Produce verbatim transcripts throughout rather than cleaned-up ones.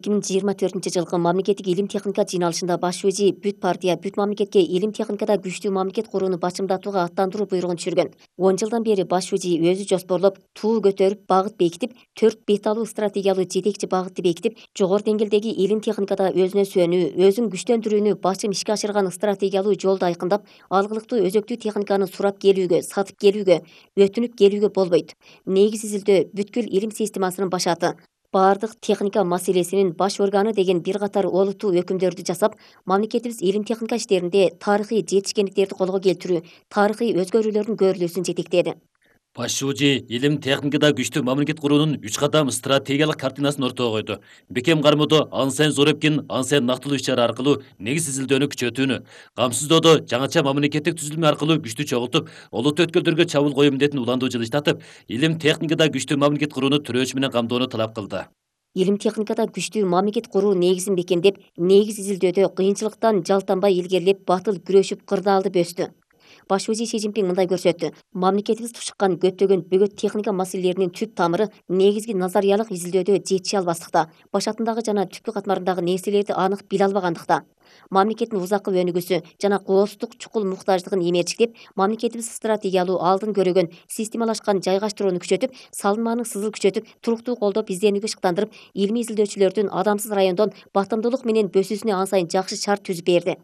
эки миң жыйырма төртүнчү жылкы мамлекеттик илим техника жыйналышында баш вези бүт партия бүт мамлекетке илим техникада күчтүү мамлекет курууну башымдатууга аттандыруу буйругун түшүргөн. он жылдан бери баш вези өзү жоспорлоп, туу көтөрүп, багыт бекитип, төрт беталуу стратегиялуу жетекчи багытты бекитип, жогору деңгээлдеги илим техникада өзүнө сүйөнүү, өзүн күчтөндүрүүнү башым ишке ашырган стратегиялуу жолду айкындап, алгылыктуу өзөктүү техниканы сурап келүүгө, сатып келүүгө, өтүнүп келүүгө болбойт. Негиз изилдөө бүткүл илим системасынын башаты. Баардык техника маселесинин баш органы деген бир катар олуттуу өкүмдөрдү жасап, мамлекетибиз илим техника иштеринде тарыхый жетишкендиктерди колго келтирүү, тарыхый өзгөрүүлөрдүн көрүлүүсүн жетектеди. Баш вези илим техникада күчтүү мамлекет куруунун үч кадам стратегиялык картинасын ортого койду. Бекем кармоодо ан сайын зор эркин, ан сайын нактылуу иш-чара аркылуу негиз изилдөөнү күчөтүүнү, камсыздоодо жаңыча мамлекеттик түзүлмө аркылуу күчтү чогултуп, олуттуу өткөлдөргө чабуул коюу милдетин улантуу жылыштатып, илим техникада күчтүү мамлекет курууну төрөөчү менен камдоону талап кылды. Илим техникада күчтүү мамлекет куруу негизин бекемдеп, негиз изилдөөдө кыйынчылыктан жалтанбай илгерилеп, батыл күрөшүп, кырдаалды бөстү. Баш вези Си Цзиньпин мындай көрсөттү. Мамлекетибиз тушуккан көптөгөн бөгөт техника маселелеринин түп тамыры негизги назариялык изилдөөдө жетиши албастыкта, башатындагы жана түпкү катмарындагы нерселерди анык биле албагандыкта. Мамлекеттин узаккы өнүгүүсү жана кооздук чукул муктаждыгын эмерчиктеп, мамлекетибиз стратегиялуу алдын көрөгөн, системалашкан жайгаштырууну күчөтүп, салынманын сызыл күчөтүп, туруктуу колдоп, изденүүгө шыктандырып, илимий изилдөөчүлөрдүн адамсыз райондон батымдуулук менен бөсүүсүнө ан сайын жакшы шарт түзүп берди.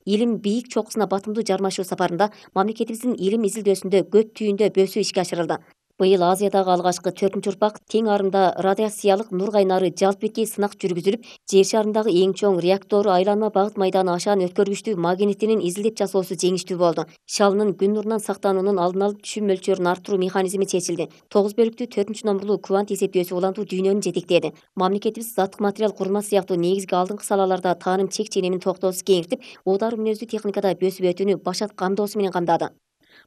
Илим бийик чокусуна батымдуу жармашуу сапарында мамлекетибиздин илим изилдөөсүндө көт түйүндө бөсүү ишке ашырылды. Быйыл Азиядагы алгачкы төртүнчү урпак тең арымда радиациялык нур кайнары жалп беткей сынак жүргүзүлүп, жер шарындагы эң чоң реактору айланма багыт майданы ашаан өткөргүчтүү магнитинин изилдеп жасоосу жеңиштүү болду. Шалынын күн нурунан сактануунун алдын алып түшүм мөлчөрүн арттыруу механизми чечилди. тогуз бөлүктүү төртүнчү номурлуу квант эсептөөсү улантуу дүйнөнү жетектеди. Мамлекетибиз заттык материал курулмасы сыяктуу негизги алдыңкы салаларда тааным чек ченемин токтоосуз кеңиртип, уутар мүнөздүү техникада өсүп өтүүнү башат камдоосу менен камдады.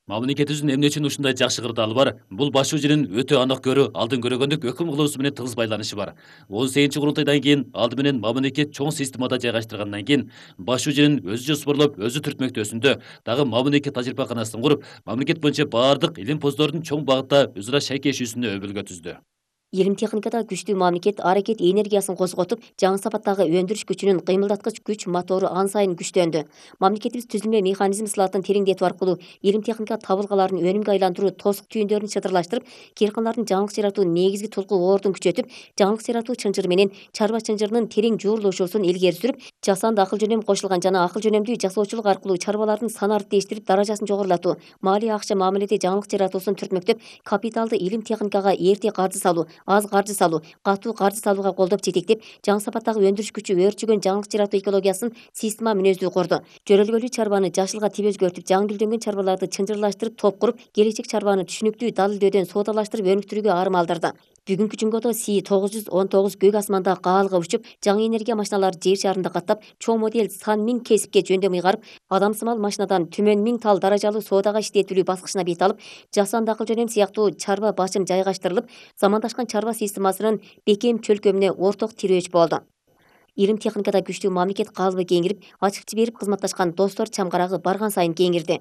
Мамлекетибиздин эмне үчүн ушундай жакшы кырдаалы бар? Бул баш везинин өтө анық көрүү, алдын көрөгөндүк өкүм кылуусу менен тыгыз байланышы бар. он сегизинчи курултайдан кийин алды менен мамлекет чоң системада жайгаштыргандан кийин баш везинин өзү жоспорлоп, өзү түртмөктөөсүндө дагы мамлекет тажрыйбаканасын куруп, мамлекет боюнча баардык илим поздордун чоң багытта өз ара шайкешүүсүнө өбөлгө түздү. Илим техникада күчтүү мамлекет аракет энергиясын козготуп, жаңы сапаттагы өндүрүш күчүнүн кыймылдаткыч күч мотору ан сайын күчтөндү. Мамлекетибиз түзүлмө механизм сылатын тереңдетүү аркылуу илим техника табылгаларын өнүмгө айландыруу тосук түйүндөрүн чыдырлаштырып, кыйркандардын жаңылык жаратуу негизги тулку оордун күчөтүп, жаңылык жаратуу чынжыры менен чарба чынжырынын терең жуурулушуусун илгери сүрүп, жасанды акыл жөнөм кошулган жана акыл жөнөмдүү жасоочулук аркылуу чарбалардын сан арттештирип, даражасын жогорулатуу, малия акча мамиледе жаңылык жаратуусун түртмөктөп, капиталды илим техникага эрте каржы салуу, аз каржы салуу, катуу каржы салууга колдоп жетектеп, жаңы сапаттагы өндүрүш күчү өөрчүгөн жаңылык жаратуу экологиясын система мүнөздүү курду. Жөрөлгөлүү чарбаны жашылга тип өзгөртүп, жаңы гүлдөнгөн чарбаларды чынжырлаштырып, топ куруп, келечек чарбаны түшүнүктүү далилдөөдөн соодалаштырып өнүктүрүүгө арым алдырды. Бүгүнкү жумгодо Си тогуз жүз он тогуз көк асманда каалга учуп, жаңы энергия машиналары жер шарында каттап, чоң модель сан миң кесипке жөндөм ыйгарып, адамсымал машинадан түмөн миң тал даражалуу соодага иштетилүү баскычына бет алып, жасанды акыл жөнөм сыяктуу чарба башым жайгаштырылып, замандашкан чарба системасынын бекем чөлкөмүнө орток тирөөч болду. Илим техникада күчтүү мамлекет калыбы кеңирип, ачык жиберип кызматташкан достор чамгарагы барган сайын кеңирди.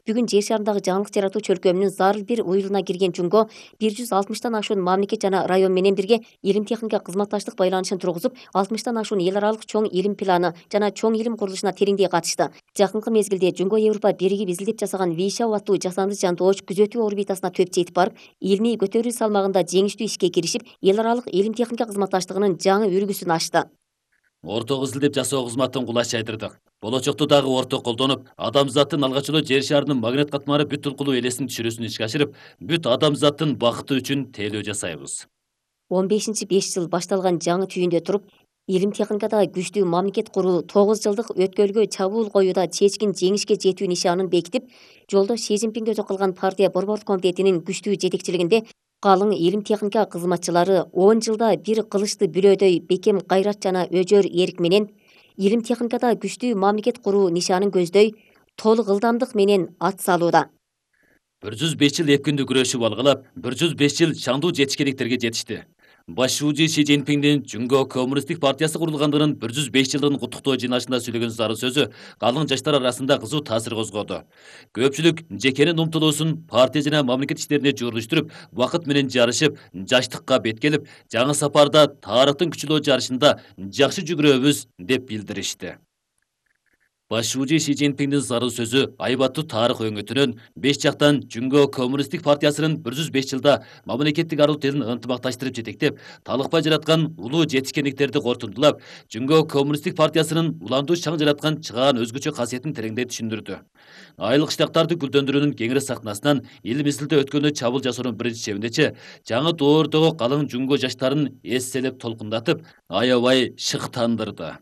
Бүгүн жер шарындагы жаңылык жаратуу чөлкөмүнүн зарыл бир уюлуна кирген жумго бир жүз алтымыштан ашуун мамлекет жана район менен бирге илим техника кызматташтык байланышын тургузуп, алтымыштан ашуун эл аралык чоң илим планы жана чоң илим курулушуна тереңдей катышты. Жакынкы мезгилде Жумго Европа биригип изилдеп жасаган Вишау аттуу жасанды жантооч күзөтүү орбитасына төп жетип барып, илмий көтөрүү салмагында жеңиштүү ишке киришип, эл аралык илим техника кызматташтыгынын жаңы үлгүсүн ачты. Орток изилдеп жасоо кызматын кулач жайдырдык. Болочокто дагы орток колдонуп, адамзаттын алгач эле жер шарынын магнит катмары бүт тулкулуу элесин түшүрүүсүн ишке ашырып, бүт адамзаттын бакыты үчүн тейлөө жасайбыз. он бешинчи беш жыл башталган жаңы түйүндө туруп, илим техникада күчтүү мамлекет куруу тогуз жылдык өткөлгө чабуул коюуда чечкин жеңишке жетүү нишанын бекитип, жолдо Си Цзиньпин көзү кылган партия борбордук комитетинин күчтүү жетекчилигинде калың илим техника кызматчылары он жылда бир кылычты бүлөөдөй бекем кайрат жана өжөр эрк менен илим техникада күчтүү мамлекет куруу нишанын көздөй толук ылдамдык менен ат салууда. бир жүз беш жыл эп күндү күрөшүп алгалап, бир жүз беш жыл шаңдуу жетишкендиктерге жетишти. Башчы Си Цзиньпиндин Жүнгө Коммунисттик партиясы курулгандыгынын бир жүз беш жылдыгын куттуктоо жыйналышында сөйлөгөн зары сөзү калың жаштар арасында кызуу таасир козгоду. Көпчүлүк жекенин умтулуусун партия жана мамлекет иштерине журулуштуруп, убакыт менен жарышып, жаштыкка беткелип, жаңы сапарда тарыхтын күчүлүү жарышында жакшы жүгүрөбүз деп билдиришти. Башчы Си Цзиньпиндин зары сөзү айбаттуу тарых өңөтүнөн беш жактан Жүнгө Коммунисттик партиясынын бир жүз беш жылда мамлекеттик аралык тилин ынтымакташтырып жетектеп, талыкпай жараткан улуу жетишкендиктерди кортундулап, Жүнгө Коммунисттик партиясынын уландуу шаң жараткан чыгаан өзгөчө касиетин тереңдей түшүндүрдү. Айылык штабтарды гүлдөндүрүүнүн кеңири сахнасынан эл мисилде өткөндө чабуул жасоонун биринчи чебиндечи жаңы доордогу калың Жүнгө жаштарын эсселеп толкундатып, аябай шыктандырды.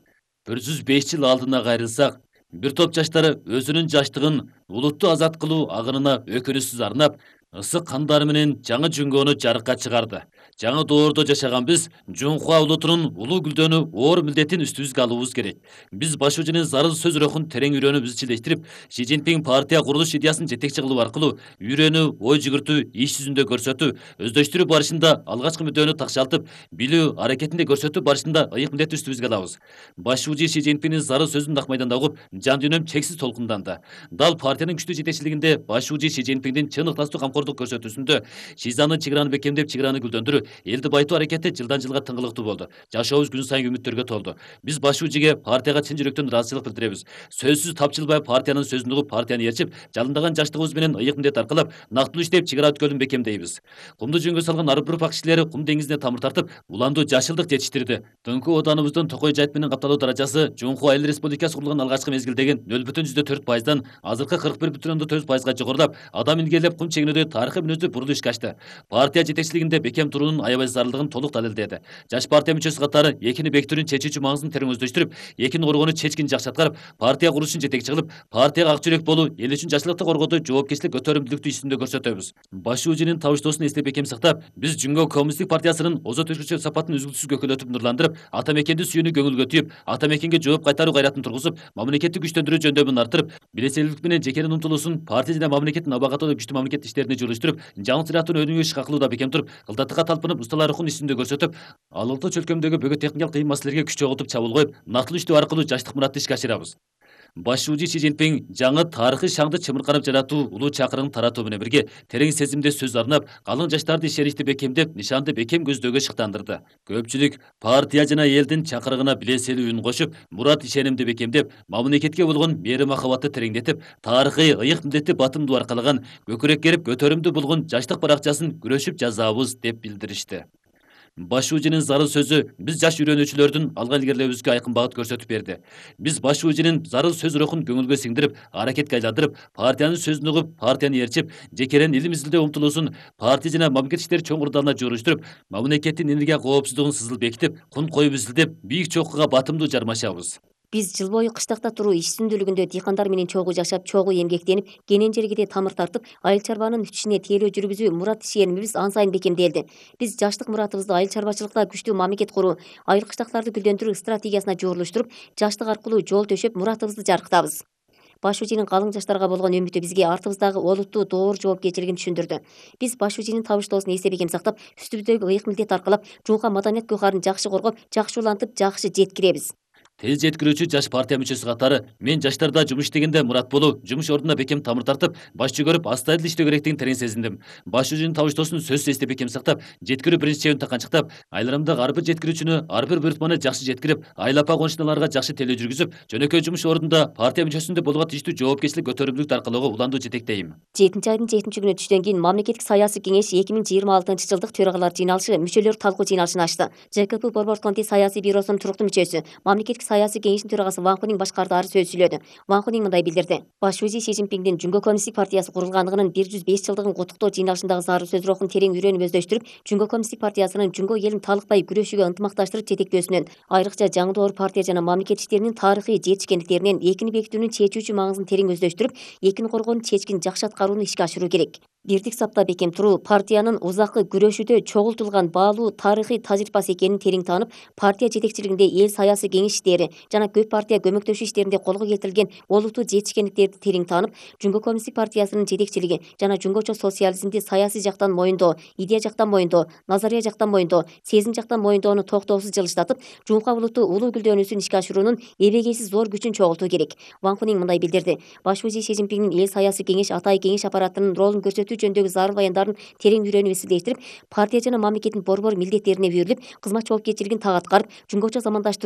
бир жүз беш жыл алдына кайрылсак, бир топ жаштары өзүнүн жаштыгын улутту азат кылуу агынына өкүнүсүз арнап, ысык кандары менен жаңы Жүнгөнү жарыкка чыгарды. Жаңы доордо жашаган биз Жунхуа улутунун улуу гүлдөнүү оор милдетин үстүбүзгө алуубуз керек. Биз башчынын зары сөз рухун терең үйрөнүп изчилештирип, Си Цзиньпин партия курулуш идеясын жетекчи кылуу аркылуу үйрөнүү, ой жүгүртүү, иш жүзүндө көрсөтүү, өздөштүрүү барышында алгачкы мүддөөнү такшалтып, билүү аракетинде көрсөтүү барышында ыйык милдетти үстүбүзгө алабыз. Башчы Си Цзиньпиндин зары сөзүн ак майданда угуп, жан дүйнөм чексиз толкунданды. Дал партиянын күчтүү жетекчилигинде башчы Си Цзиньпиндин чын ыктастуу камкордук көрсөтүүсүндө Шизаны чыгараны бекемдеп, чыгараны гүлдөндүрүү, элди байытуу аракети жылдан жылга тыңгылыктуу болду. Жашообуз күн сайын үмүттөргө толду. Биз башчыга партияга чын жүрөктөн ыраазычылык билдиребиз. Сөзсүз тапчылбай партиянын сөзүн угуп, партияны ээрчип, жалындаган жаштыгыбыз менен ыйык милдет аркылап, нактылуу иштеп, чыгара өткөлүн бекемдейбиз. Кумду жөнгө салган ар бир ұрпак кишилери кум деңизине тамыр тартып, уландуу жашылдык жетиштирди. Тыңкуу оданыбыздын токой жайыт менен капталуу даражасы Жунхуа эл республикасы курулган алгачкы мезгилдеги нөл бүтүн жүздө төрт пайыздан азыркы кырк бир бүтүн ондон төрт пайызга жогорулап, адам илгерлеп кум чегинүүдө тарыхый мүнөздүү бурулуш ишке ашты. Партия жетекчилигинде бекем туруунун аябай зарылдыгын толук далилдеди. Жаш партия мүчөсү катары экини бекитүүнүн чечүүчү маңызын терең өздөштүрүп, экини коргоону чечкин жакшы аткарып, партия курулушун жетекчи кылып, партияга ак жүрөк болуу, эл үчүн жакшылыкты коргоодо жоопкерчилик көтөрүмдүүлүктү иш жүзүндө көрсөтөбүз. Башчынын табыштоосун эстеп бекем сактап, биз Жүнгө Коммунисттик партиясынын озот өзгөчө сапатын үзгүлтүсүз көкөлөтүп нурландырып, ата мекенди сүйүүнү көңүлгө түйүп, ата мекенге жооп кайтаруу кайратын тургузуп, мамлекетти күчтөндүрүү жөндөмүн арттырып, белсендүүлүк менен жекенин умтулуусун партия жана мамлекеттин абагатуу күчтүү мамлекет иштерине журулуштуруп, жаңы зыяттын өнүгүү ишке акылууда бекем туруп, кылдаттыкка талпынып, усталар рухун иш жүзүндө көрсөтүп, ал улуттуу чөлкөмдөгү бөгөт техникалык кыйын маселелерге күч чогултуп чабуул коюп, нактылуу иштөө аркылуу жаштык муратты ишке ашырабыз. Башчы Си Цзиньпин жаңы тарыхый шаңды чымырканып жаратуу улуу чакырыгын таратуу менен бирге терең сезимде сөз арнап, калың жаштарды ишеничти бекемдеп, нишанды бекем көздөөгө шыктандырды. Көпчүлүк партия жана элдин чакырыгына биленселүү үн кошуп, мурат ишенимди бекемдеп, мамлекетке болгон мээри махабатты тереңдетип, тарыхый ыйык милдетти батымдуу аркалаган, көкүрөк керип көтөрүмдүү болгон жаштык баракчасын күрөшүп жазабыз деп билдиришти. Башчынын зары сөзү биз жаш үйрөнүүчүлөрдүн алга илгерилөөбүзгө айкын багыт көрсөтүп берди. Биз башчынын зары сөз рухун көңүлгө сиңдирип, аракетке айландырып, партиянын сөзүн угуп, партияны ээрчип, жекерен ил мизилдөө умтулуусун партия жана мамлекет иштери чоң курдалына журуштуруп, мамлекеттин энергия коопсуздугун сызыл бекитип, кун коюп изилдеп, бийик чокуга батымдуу жармашабыз. Биз жыл бою кыштакта туруу иш сүндүүлүгүндө дыйкандар менен чогуу жашап, чогуу эмгектенип, кенен жерге тамыр тартып, айыл чарбанын ишине тиелөө жүргүзүү мурат ишенимибиз ан сайын бекемделди. Биз жаштык муратыбызды айыл чарбачылыкта күчтүү мамлекет куруу, айыл кыштактарды гүлдөндүрүү стратегиясына журулуштуруп, жаштык аркылуу жол төшөп, муратыбызды жарыктабыз. Башчынын калың жаштарга болгон үмүтү бизге артыбыздагы олуттуу доор жоопкерчилигин түшүндүрдү. Биз башчынын табыштоосун эстеп бекем сактап, үстүбүздөгү ыйык милдет аркалап, Жунхуа маданият гөкарын жакшы коргоп, жакшы улантып, жакшы жеткиребиз. Тез жеткирүүчү жаш партия мүчөсү катары мен жаштарда жумуш иштегенде мурат болуу, жумуш ордуна бекем тамыр тартып, башчы көрүп, астайыл иштөө керектигин терең сезиндим. Башчынын табыштоосун сөзсүз эстеп бекем сактап, жеткирүү биринчи чебин таканчыктап, айылымдагы ар бир жеткирүүчүнү, ар бир буйртманы жакшы жеткирип, айыл апа конушуналарга жакшы телөө жүргүзүп, жөнөкөй жумуш ордунда партия мүчөсүндө болгон тийиштүү жоопкерчилик көтөрүмдүүлүктү аркалоого уландуу жетектейм. жетинчи айдын жетинчи күнү түштөн кийин мамлекеттик саясий кеңеш эки миң жыйырма алтынчы жылдык төрагалар жыйналышы мүчөлөр талкуу жыйналышын ачты. ЖКП Борбор комитет саясий бюросунун туруктуу мүчөсү, мамлекеттик саясий кеңештин төрагасы Ван Хунин башкардары сөз сүйлөдү. Ван Хунин мындай билдирди. Башчы Си Цзиньпиндин Жүнгө Коммунисттик партиясы курулгандыгынын бир жүз беш жылдыгын куттуктоо жыйналышындагы зары сөз рухун терең үйрөнүп өздөштүрүп, Жүнгө Коммунисттик партиясынын Жүнгө элин талыкпай күрөшүүгө ынтымакташтырып жетектөөсүнөн, айрыкча жаңы доор партия жана мамлекет иштеринин тарыхый жетишкендиктеринен экини бекитүүнүн чечүүчү маңызын терең өздөштүрүп, экини коргоонун чечкин жакшы аткарууну ишке ашыруу керек. бирдик сапта бекем туруу партиянын узаккы күрөшүүдө чогултулган баалуу тарыхый тажрыйбасы экенин терең таанып, партия жетекчилигинде эл саясий кеңеш иштери жана көп партия көмөктөшүү иштеринде колго келтирилген олуттуу жетишкендиктерди терең таанып, Жумго коммунисттик партиясынын жетекчилиги жана жумгочо социализмди саясий жактан моюндоо, идея жактан моюндоо, назария жактан моюндоо, сезим жактан моюндоону токтоосуз жылыштатып, жумка улутту улуу гүлдөнүүсүн ишке ашыруунун эбегейсиз зор күчүн чогултуу керек. Ван Хунин мындай билдирди: Баш музей Си Цзиньпиндин эл саясий кеңеш атайын кеңеш аппаратынын ролун көрсөтүү жөнүндөгү зарыл баяндарын терең үйрөнүп эсилдештирип, партия жана мамлекеттин борбор милдеттерине берилип, кызмат жоопкерчилигин так аткарып, жумгочо замандаштыруу